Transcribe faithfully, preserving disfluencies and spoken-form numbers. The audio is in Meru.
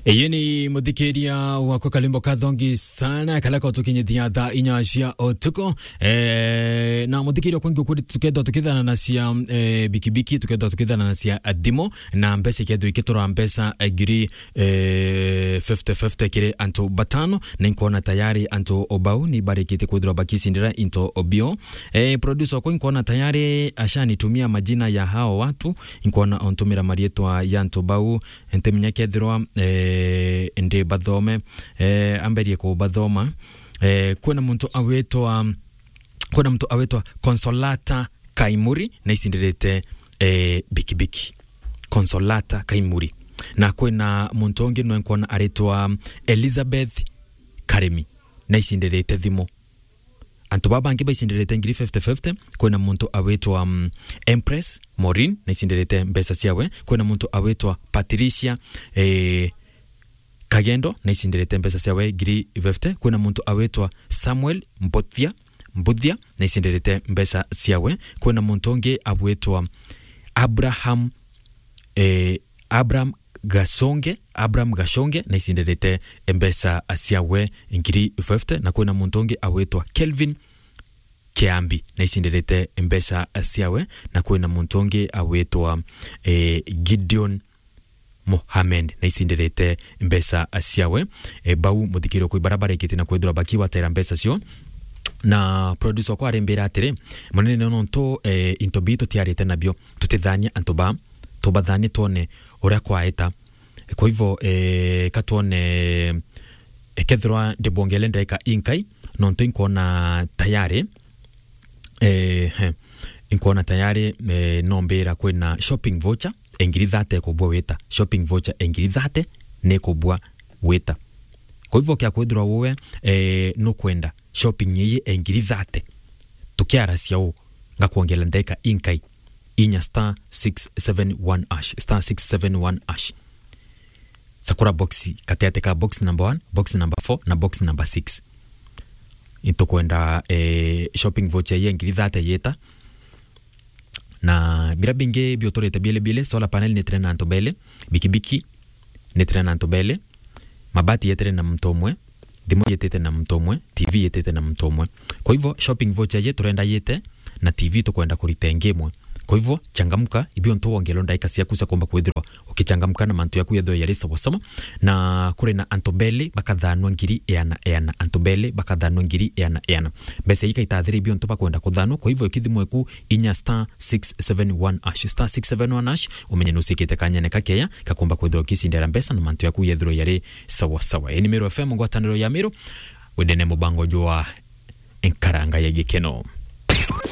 Iyi ni muthikiria wakwa kalimbo kathongi sana, kala ko tukinyithia thaa inya cia utuku. Eh, na muthikiria kwengi ukuri tukethwa tukithana na cia, eh, bikibiki, tukethwa tukithana na cia thimu, na mbeca ikethwa ikitura mbeca, eh, ngiri, eh, fifty fifty kiri antu batano, na inkwona tayari antu o bau ni barikitie kwithirwa bakicindira into o bio. Eh, producer wakwa inkwona tayari ashanitumia majina ya hao watu, inkwona ontumira marietwa ya antu bau, ntimenya kethirwa, eh, ndi bathome, eh, amberie kubathoma. Eh, kwina muntu awitwa, kwina muntu awitwa Consolata Kaimuri, na icindirite, eh, bikibiki. Consolata Kaimuri. Na kwina muntu ungi nwe nkwona aritwa Elizabeth Karemi, na icindirite thimu. Antu baba bangi baicindirite ngiri fifty fifty, kwina muntu awitwa, mm, Empress Maureen, na icindirite mbeca ciawe. Kwina muntu awitwa Patricia, eh, Kagendo, na icindirite mbeca ciawe ngiri fifty. Kwina muntu awitwa Samuel Mbuthia, Mbuthia, na icindirite mbeca ciawe. Kwina muntu ungi awitwa Abraham, eh, Abraham Gachonge, Abraham Gachonge, na icindirite mbeca ciawe ngiri fifty, na kwina muntu ungi awitwa Kelvin Kiambi, na icindirite mbeca ciawe, na kwina muntu ungi awitwa, eh, Gideon Mohamed, na icindirite mbeca ciawe. Eh, bau muthikirio kwi bara barikitie na kwithirwa bakiwatera mbeca cio. Na producer wakwa arimbira atiri, munene nontu, eh, into bii tutiarite nabio, tutithanie antu ba, tubathanie twone uria kwaeta. Kwa hivyo, eh, ka twone, eh, kethirwa ndibongele ndaika inkai, nontu inkwona tayari, eh, he, inkwona tayari, eh, nombira kwina shopping voucher engiri thate kubua wita. Shopping voucher engiri thate ni kubua wita. Kwa hivyo kia kwithirwa uwe, eh, nukwenda shopping iyi engiri thate, tukiaracia u, ngakwongela ndaika inkai, inya star six seven one hash, star six seven one hash. Sakura box, kateate ka box number one, box number four, na box number six. Itukwenda, eh, shopping voucher ya ngiri thate yeta. Na bira bingi biuturite biele biele, solar panel ni tena antu bele, bikibiki ni tena antu bele, mabati yetere na mtu umwe, thimu yetete na mtu umwe, T V yetete na mtu umwe. Kwa hivyo, shopping voucher ye turenda yete, na T V tukwenda kurita ingi imwe. Kwa hivyo, changamka, ibio ntu wongelo ndaika ciaku cia kumba kwithirwa ukichangamka na mantu yaku yethwe yari sawa sawa. Na kuri na antu bele bakathanwa ngiri eana eana, antu bele bakathanwa ngiri eana eana. Mbeca ikaitathira ibio ntu bakwenda kuthanwa, kwa hivyo, ikithimwe ku inya star six seven one hash, star six seven one hash, umenye nusikite kanyene kakeya kakumba kwithirwa ukicindera mbeca na mantu yaku yethirwa yari sawa sawa. Ii ni Meru F M, ngwataniro ya Meru, wendene mubango jwa Enkaranga ya Gikeno.